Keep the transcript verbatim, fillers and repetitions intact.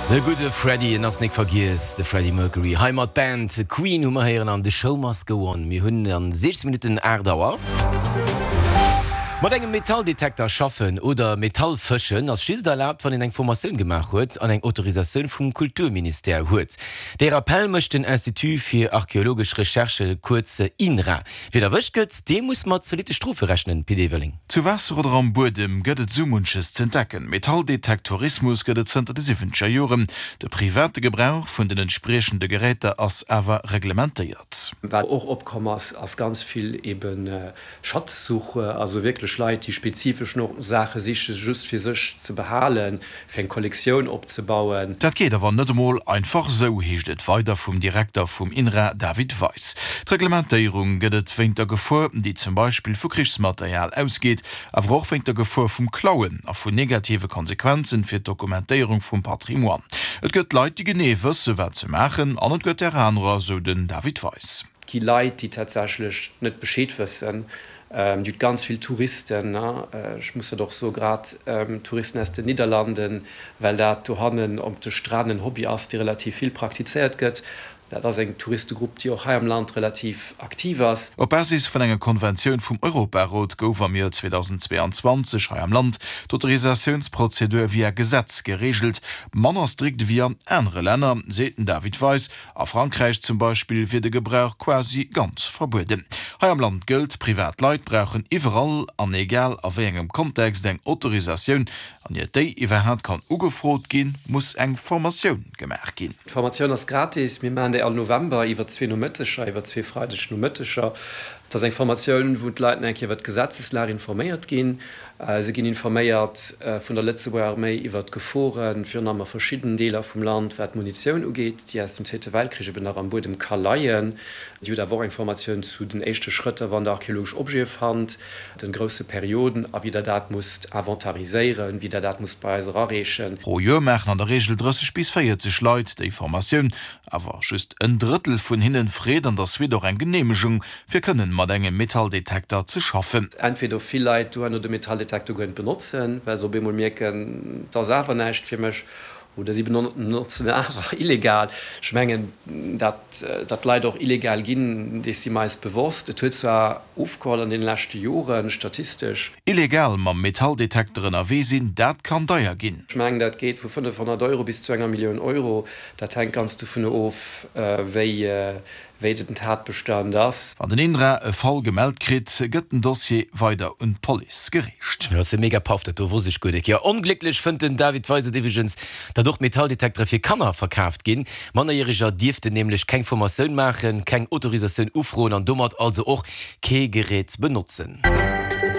De gudde Freddie, en ass nik vergiess, de Freddie Mercury. Hei mat Band Queen hu mer héieren an The Show Must Go On. Mir hunn an siechzéng Minutten aacht Auer. Mat engem Metalldetekter schaffen oder Metall fëschen ass just erlaabt, wann een eng Formatioun gemaach huet an eng Autorisatioun vum Kulturministère huet. Dee Rappell mécht den Institut fir archeologesch Recherche, kuerz INRA. Wien erwëscht gëtt, dee muss mat zolitte Strofe rechnen, Pit Everling. Zu Waasser oder am Buedem gëtt et sou munches z'entdecken. Metalldetektourismus gëtt et zënter de siwwenzeger Joren. De private Gebrauch vun den entspriechende Geräter ass awer reglementéiert. Wat och opkomm ass, ass ganz vill eben Schatzsuche, also wierklech Leit, déi spezifesch no Saache sichen, just fir sech ze behalen, fir eng Kollektioun opzebauen. Dat geet awer net emol einfach sou, heescht et weider vum Direkter vum INRA David Weis. D'Reglementéierung gëtt et wéint der Gefor, déi zum Beispill vu Krichsmaterial ausgeet, awer och wéint der Gefor vum Klauen a vun negative Konsequenzen fir d'Dokumentéierung vum Patrimoine. Et gëtt Leit, déi genee wësse wat se maachen, an et gëtt där anerer, sou den David Weis. Et gi Leit, déi tatsächlech net Bescheed wëssen. Dir hutt ganz vill Touristen, ech muss dat och soen, grad Touristen aus den Nidderlanden, well dat dohannen op de Stränn en Hobby ass, dee relativ vill praktizéiert gëtt. Dat ass eng Touristegrupp, déi och hei am Land relativ aktiv ass. Op Basis vun enger Konventioun vum Europarot gouf am Joer zweedausendzweeanzwanzeg hei am Land d'Autorisatiounsprozedur via Gesetz gereegelt. Manner strikt ewéi an anere Länner, seet den David Weis. A Frankräich zum Beispill wier de Gebrauch quasi ganz verbueden. Hei am Land gëllt, Privat Leit brauchen iwwerall an egal a wéi engem Kontext eng Autorisatioun. An iert déi iwwerhaapt kann ugefrot ginn, muss eng Formatioun gemaach ginn. D'Formatioun ass gratis. Mir maachen déi all November iwwer zwee Nomëtteger, iwwer zwee Freideg Nomëtteger. Et ass eng Formatioun, wou d'Leit nach eng Kéier iwwer d'Gesetzeslag informéiert ginn. Se ginn informéiert vun der Lëtzebuerger Arméi iwwer d'Geforen, virun allem a verschiddenen Deeler vum Land, wat d'Munitioun ugeet, déi aus dem Zweete Weltkrich eben nach am Buedem ka leien. Dir hutt awer och eng Formatioun zu den éischte Schrëtter, wann Der archeologesch Objete fannt, den grousse Perioden a wéi Der dat musst inventariséieren, wéi Der dat musst bei eis erareechen. Pro Joer maachen an der Reegel drësseg bis véierzeg Leit déi Formatioun. Awer just en Drëttel vun hinnen freet an der Suite och eng Geneemegung, fir kënnen mat engem Metalldetekter ze schaffen. Entweder vill Leit duerno de Metalldetekter guer net benotzen, well se op eemol mierken, 't ass awer näischt fir mech, Oder si benotzen en awer illegal. Ech mengen, datt datt Leit och illegal ginn, dees si mer eis bewosst. Et huet zwar ofgeholl an deene leschte Joren, statistesch. Illegal mam Metalldetekter ënnerwee sinn, dat kann deier ginn. Ech mengen, dat geet vu fënnefhonnert Euro bis zu enger Millioun Euro. Dat hänkt ganz dovun of, wéi wéi den Tatbestand ass. Wann den INRA e Fall gemellt kritt, gëtt den Dossier weider un d'Police gereecht. Jo, ass e mega Paff, dat do wosst ech guer nik. Jo, onglécklech fënnt den David Weisert iwweregens, datt och Metalldetektere fir Kanner verkaaft ginn. Mannerjäreger dierften nämlech keng Formatioun maachen, keng Autorisatioun ufroen an domat also och kee Gerät benotzen.